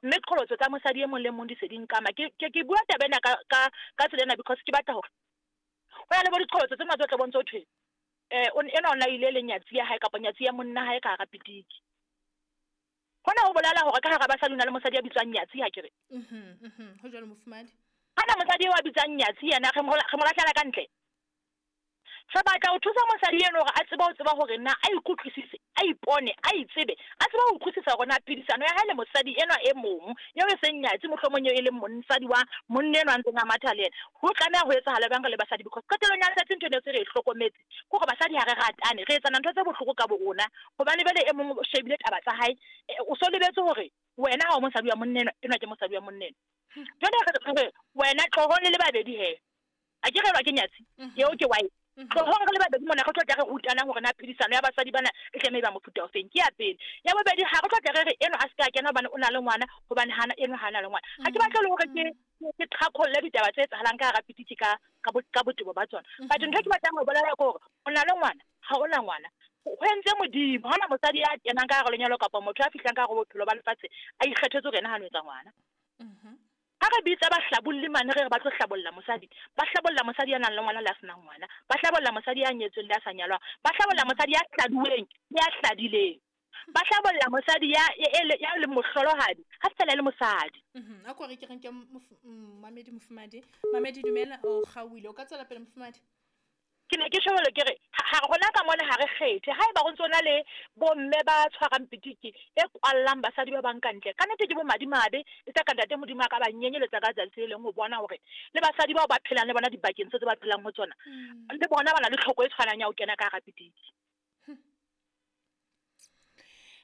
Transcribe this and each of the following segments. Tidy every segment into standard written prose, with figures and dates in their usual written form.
Mme qholotso tsa mosadi e mong le mong di se di nkama. Ke bua taba ena ka tsela ena because ke batla hore ho na le bo diqholotso tse ngata o tla bontse ho thwe enwa o na ile le nyatsi ya hae kapa nyatsi ya monna hae ka hara pitiki. Hona ho bolela hore ka hara basadi o na le mosadi ya bitswang nyatsi, ha ke re? Ho jwalo, mofumahadi. Hana mosadi eo a bitswang nyatsi yena re mo lahlela ka ntle. Re batla ho thusa mosadi eno hore a tsebe ho tseba hore na a ikutlwisise, a ipone, a itsebe, a tsebe ho utlwisisa hore na phedisano ya hae le mosadi enwa e mong, eo e seng nyatsi, mohlomong eo e leng mosadi wa monna enwa a ntseng a matha le yena, ho tlameha ho etsahala jwang re le basadi. Because qetellong ya letsatsi ntho eno se re e hlokometse ke hore basadi ha re ratane, re etsana ntho tse bohloko ka bo rona, hobane jwale e mong o shebile taba tsa hae, o so lebetse hore wena ha o mosadi wa monna enwa, enwa ke mosadi wa monna enwa. Jwale re re wena tlohong le le babedi he. A ke re elwa ke nyatsi, eo ke wife. Tlohong re le babedi mona re tlo tla re rutana hore na phedisano ya basadi bana e tlameha e ba mofuta o feng. Ke ya pele. Ya bobedi, ha re tlo tla re re enwa a se ka kena hobane o na le ngwana, hobane hana enwa ha na le ngwana. Ha ke batle le hore ke qhaqholle ditaba tse etsahalang ka hara pitiki ka botebo ba tsona. But ntho e ke batlang ho bolela ke hore o na le ngwana, ha o na ngwana. Ho entse Modimo, ha hona mosadi ya kenang ka hara lenyalo kapa motho ya fihlang ka hare ho bophelo ba lefatshe a ikgethetse hore yena ha no etsa ngwana. Ha re bitsa bahlabolli mane re re ba tlo hlabolla mosadi, ba hlabolla mosadi ya nang le ngwana le a senang ngwana, ba hlabolla mosadi ya nyetsweng le a sa nyalwang, ba hlabolla mosadi ya hladuweng le ya hladileng, ba hlabolla mosadi ya leng mohlolohadi ha fela e le mosadi. A ko re ke re nke mamedi mofumadi. Mamedi dumela, o kgaohile, o ka tswela pele mofumadi. Ke ne ke tjho jwalo ke re, ha rona ka mona ha re kgethe. Haeba ho ntso na le bomme ba tshwarang pitiki e kwallang basadi ba bang ka ntle, ka nnete ke bo madimabe, e tla ka ntate Modimo a ka ba nyenyeletsa ka tsatsi le leng ho bona hore le basadi bao ba phelang le bona dibakeng tse tse ba phelang ho tsona, le bona ba na le tlhoko e tshwanang ya ho kena ka hara pitiki.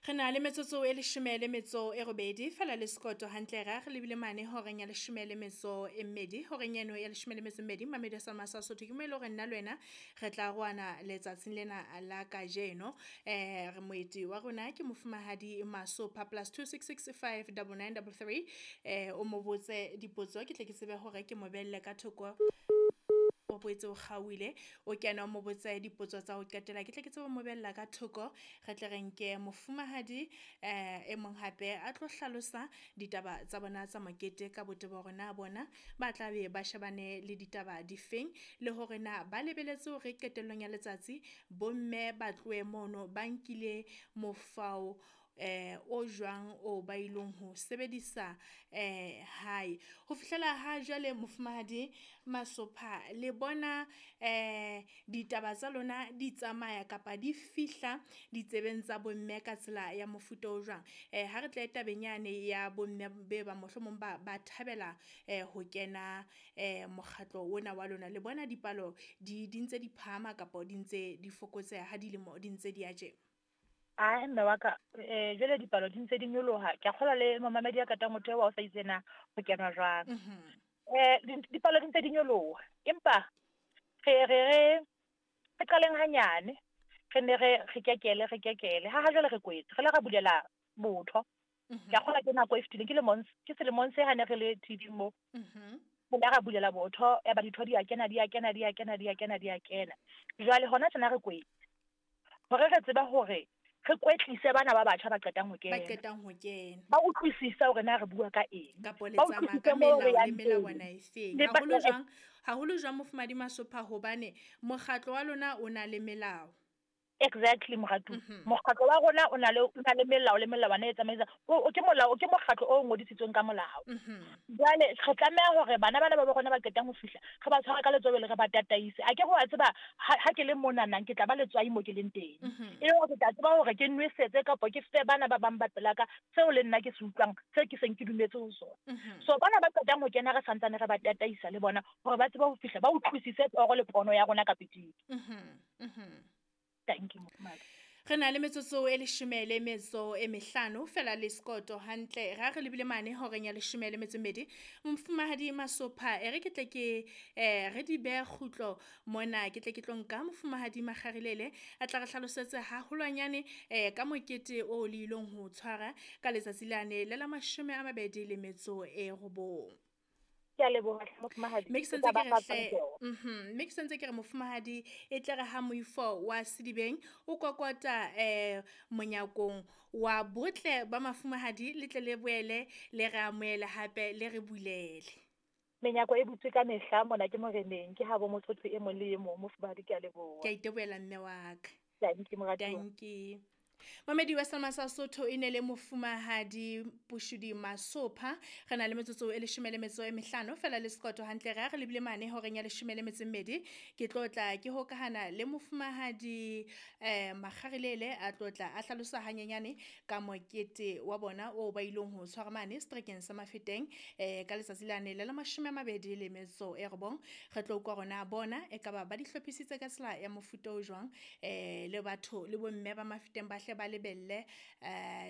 Re na le metsotso e 18 fela le sekoto hantle ra re lebile mane horeng ya 12, horeng eno ya 12 Mamedi Salma sa Sotho ke mo e le hore nna le wena re tla roana letsatsing lena la kajeno. Re moeti wa rona ke mofumahadi Masopha plus 2665 9933. O mo botse dipotso ke tle ke tsebe hore ke mo belle ka thoko. O boetse o kgaohile, o kena o mo botse dipotso tsa ho qetela, ke tle ke tsebe ho mo bella ka thoko. Re tle re nke mofumahadi e mong hape a tlo hlalosa ditaba tsa bona tsa mokete ka botebo hore na bona ba tla be ba shebane le ditaba difeng, le hore na ba lebeletse hore qetellong ya letsatsi bomme ba tlohe mono ba nkile mofao o jwang o ba ilong ho sebedisa hae. Ho fihlela ha jwale mofumahadi Masopha, le bona ditaba tsa lona di tsamaya kapa di fihla ditsebeng tsa bomme ka tsela ya mofuta o jwang? Ha re tle tabeng yane ya bomme be ba mohlomong ba thabela ho kena mokgatlo ona wa lona, le bona dipalo di ntse di phahama kapa di ntse di fokotseha ha dilemo di ntse di ya tje? Ae, mme wa ka, jwale dipalo di ntse di nyoloha. Ke a kgolwa le momamedi ya katang motho eo wa o sa itse na ho kenwa jwang. Dipalo di ntse di nyoloha, empa re qaleng hanyane, re ne re kekele, re kekele. Ha jwale re kwetse, re le ra bulela botho. Ke a kgolwa ke nako e fetileng, ke selemong se ha ne re le TV mo. Re le ra bulela botho, ya ba ditho di a kena, di a kena, di a kena, di a kena, di a kena. Jwale hona tjena re kwetse. Hore re tsebe hore re kwetlise bana ba batjha ba qetang ho kena. Ba qetang ho kena. Ba utlwisise hore na re bua ka eng. Kapo le Ba tsamaya utlwisise ka moo re melao le yang teng. melawana e feng. Le ba Haholo jwang, haholo jwang mofumahadi Masopha, hobane mokgatlo wa lona o na le melao. Exactly, moratu. Mokgatlo wa rona o na le, o na le melao le melawana e tsamaisang. O ke molao, o ke mokgatlo o ngodisitsweng ka molao. Jwale re tlameha hore bana bana ba bo rona ba qetang ho fihla, re ba tshware ka letsoho le re ba tataise. A ke re wa tseba, ha ke le mona nna ke tla ba letswai mo ke leng teng. E le hore ke tla tseba hore ke nwesetse kapa ke fe bana ba bang ba pela ka seo le nna ke se utlwang, seo ke seng ke dumetse ho sona. So bana ba qetang ho kena re santsane re ba tataisa le bona hore ba tsebe ho fihla, ba utlwisise toro le pono ya rona ka pitiki. Thank you, mofumahadi. Re na le metsotso e 15 fela le sekoto hantle. Ra re lebile mane horeng ya 12. Mofumahadi Masopha, e re ke tle ke, re di behe kgutlo mona, ke tle ke tlo nka mofumahadi Makgarilele a tla re hlalosetse haholwanyane, ka mokete o le ilong ho tshwara ka letsatsi lane le la 29. Ke a leboha hle mofumahadi. Mme ke sentse ke re hle, mme ke sentse ke re mofumahadi, e tle re ha moifo wa Sedibeng o kokota monyakong wa botle ba mafumahadi, le tle le boele le re amohele hape le re bulele. Menyako e butswe ka mehla mona ke moreneng, ke habo motho e mong le e mong, mofumahadi, ke a leboha. Ke a itebohela mme wa ka. Dankie moratuwa. Dankie. Mamedi wa Selma sa Sotho e ne le mofumahadi Pushudi Masopha. Re na le metsotso e 15 fela le sekoto hantle re re lebile mane horeng ya 12. Ke tlotla ke hokahana le mofumahadi Makgarilele a tlotla a hlalosa hanyenyane ka mokete wa bona o ba ileng ho tshwara mane setrekeng sa Mafeteng ka letsatsi lane le la 29. Re tlo utlwa rona bona e ka ba ba di hlophisitse ka tsela ya mofuta o jwang, le batho le bomme ba Mafeteng ba hle ba lebelle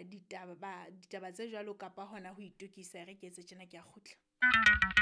ditaba tse jwalo kapa hona ho itokisa. Re ke etse tjena, ke a kgutla.